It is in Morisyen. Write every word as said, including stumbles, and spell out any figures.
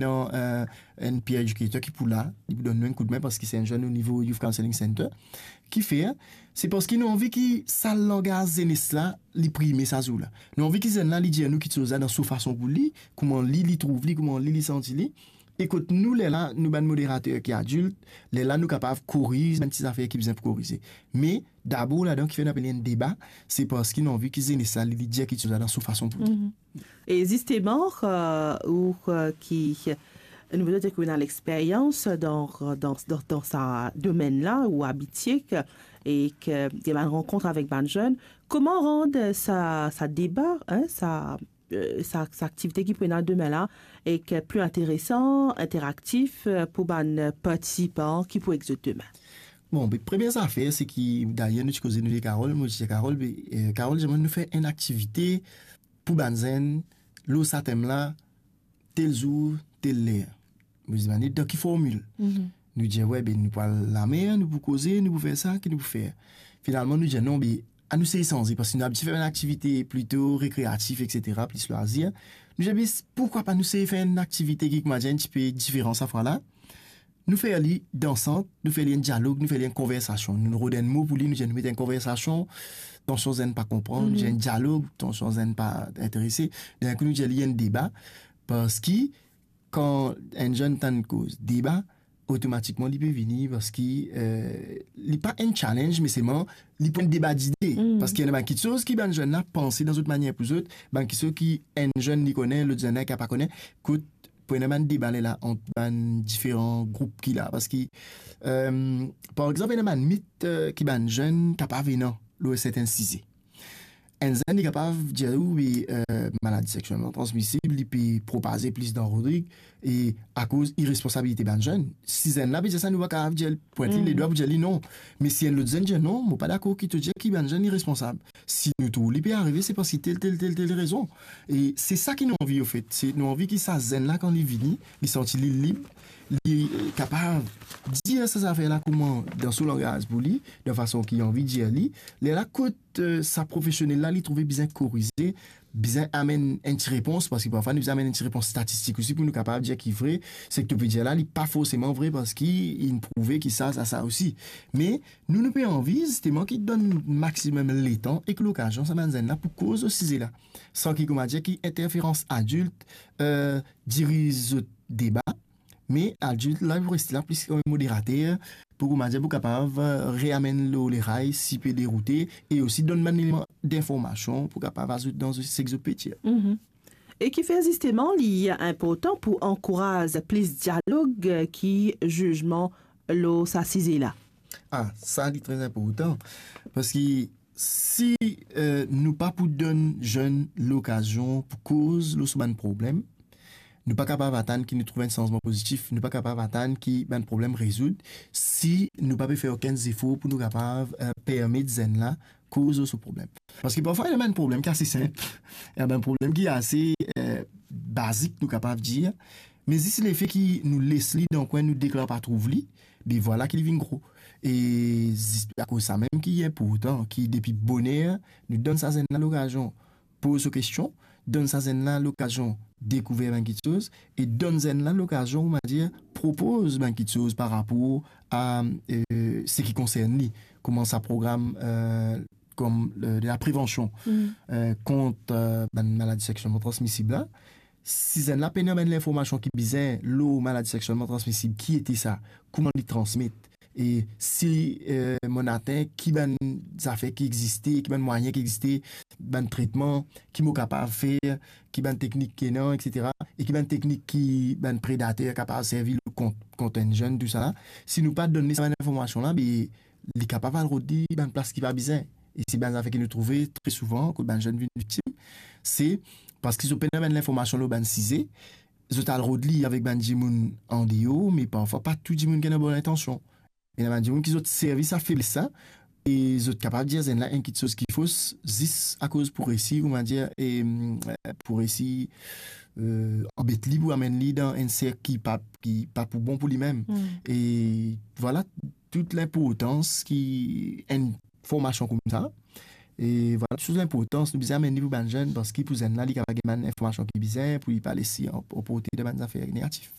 ena, eh, enn peer educator ki pou la, li pou donn nou enn koudme, parski se enn zenn o nivo Youth Counselling Center. Kifer? Se parski nou anvi ki sa langaz zenes la, li prime sa zour la. Nou anvi ki zenn la, li dir nou kiksoz la dan so fason pou li, kouma li, li trouv li, kouma li, li santi li. E kot nou, lerla, nou bann moderater ki adilt, lerla nou kapav koriz bann ti zafer ki bizin pou korize. Me dabor ladan, kifer nou apel li enn deba, se parski nou anvi ki zenes la, li, li dir kiksoz la dan so fason pou li. Mhm. E zisteman, eh, ou, eh, ki, nou pe dir ki ou ena lexperyans dan, dan, dan, dan sa domenn la, ou abitie ki, e ki ena bann rankont avek bann zenn, kouma rann sa, sa deba, hein, sa, eh, sa, sa aktivite ki pou ena demin la, e ki pli interesan, interaktif, eh, pou bann partisipan ki pou ek zot demin? Bon, be, premie zafer, se ki, dayer, nou ti koze, nou dir Carole, mo ti dir Carole, be, eh, Carole, zeman nou fer enn aktivite pou bann zenn, lor sa tem la, tel zour, tel ler. Mo dir, bann, dan ki formil? Mhm. Nou dir, we, be, nou pou al lamer, nou pou koze, nou pou fer sa, ki nou pou fer? Finalman, nou dir, non, be, anou sey sanze, parski nou abitie fer bann aktivite plito rekreatif, etsetera, plis lwazir. Nou dir, be, poukwa pa nou sey fer enn aktivite ki, kouma dir, enn tipe diferan sa fwa la? Nou fer li dansant, nou fer li enn dialog, nou fer li enn konversasion. Nou rod enn mo pou li, nou dir nou met enn konversasion, tansion zenn pa konpran, nou dir enn dialog, tansion zenn pa interese. Dernye kou, nou dir li enn deba, parski kan enn zenn tann koz deba, otomatikman li pe vini, parski, eh, li pa enn challenge, me selman li pou enn deba dide. Mm. Parski ena bann kiksoz ki bann zenn la panse dan zot manier pou zot, bann kiksoz ki enn zenn li kone, lot zenn la ki pa kone. Kot pou ena bann deba lerla ant bann diferan group ki la. Parski, eh, par exanp, ena bann mit, eh, ki bann zenn kapav ena lor sertin size. Enn zenn, li kapav dir ou, wi, eh, maladi sekselman transmisib, li pe propaze plis dan Rodrig, e akoz iresponsabilite bann zenn. Si zenn la pe dir sa, nou pa kapav dir, pwint li ledwa pou dir li non. Me si enn lot zenn dir non, mo pa dakor ki to dir ki bann zenn iresponsab. Si nou trouv li pe arive, se parski tel, tel, tel, tel rezon. E se sa ki nou anvi, anfet. Se nou anvi ki sa zenn la, kan li vini, li santi li lib, li, eh, kapav dir sa zafer la kouma dan so langaz pou li, dan fason ki anvi dir li. Lerla kot, eh, sa profesionel la, li trouve bizin korize, bizin amenn enn ti repons, parski parfwa nou bizin amenn enn ti repons statistik osi pou nou kapav dir ki vre, seki to pe dir la, li pa forseman vre, parski inn prouve ki sa, sa, sa osi. Me nou, nou pe anvi zisteman ki donn maximum letan ek lokazion sa bann zenn la pou koz lor size la, san ki, kouma dir, ki interferans adilt, eh, diriz zot deba, me adilt la pou reste la plis kouma moderater, pou, kouma dir, pou kapav, eh, reamenn lor leray si pe deroute, e osi donn bann eleman dinformasion pou kapav azout dan seki zot pe dir. Mhm. E kifer zisteman li inportan pou ankouraz plis dialog, eh, ki zizman lor sa size la? Ah, sa li tre inportan, parski si, eh, nou pa pou donn zenn lokazion pou koz lor so bann problem, nou pa kapav atann ki nou trouv enn sanzman pozitif, nou pa kapav atann ki bann problem rezoud, si nou pa pe fer okenn zefor pou nou kapav, eh, permet zenn la koz lor so problem. Parski parfwa, ena bann problem ki ase sinp, ena bann problem ki ase, eh, bazik, nou kapav dir, me zis lefe ki nou les li dan kwin, nou deklar pa trouv li, be vwala ki li vinn gro. E zis akoz sa mem ki inportan, ki depi boner, nou donn sa zenn la lokazion poz so kestion, donn sa zenn la lokazion dekouver bann kiksoz, e donn zenn la lokazion, on va dire, propoz bann kiksoz par rapor a, eh, seki konsern li, kouma sa program, eh, kom, eh, de la prevansion, eh, kont, eh, bann maladi sekselman transmisib la. Si zenn la pena bann linformasion ki bizin lor maladi sekselman transmisib, ki ete sa, kouma li transmet, e si, eh, monn atenn, ki bann zafer ki existe, ki bann mwayin ki existe, bann tretman, ki mo kapav fer, ki bann teknik ki ena, etsetera, e ki bann teknik ki bann predater kapav servi kont, kont enn zenn, tousala. Si nou pa donn li sa bann linformasion la, be, li kapav al rod li bann plas ki pa bizin. E se bann zafer ki nou trouve tre souvan, kot bann zenn vinn viktim, se parski zot pena bann linformasion lor bann size, zot al rod li avek bann dimoun andeor, me parfwa pa tou dimoun ki ena bon lintansion. Ena bann dimoun ki zot servi sa febles la, e zot kapav dir zenn la enn kiksoz ki fos, zis akoz pou resi, on va dire, e, mm, pou resi, eh, anbet li, pou amenn li dan enn serk ki pa, ki pa pou bon pou limem. E vwala, tou linportans ki enn formasion koumsa, E vwala, sou linportans nou bizin amenn li pou bann zenn, parski pou zenn la, li kapav gagn bann informasion ki bizin, pou li pa les li an-, anporte dan bann zafer negatif.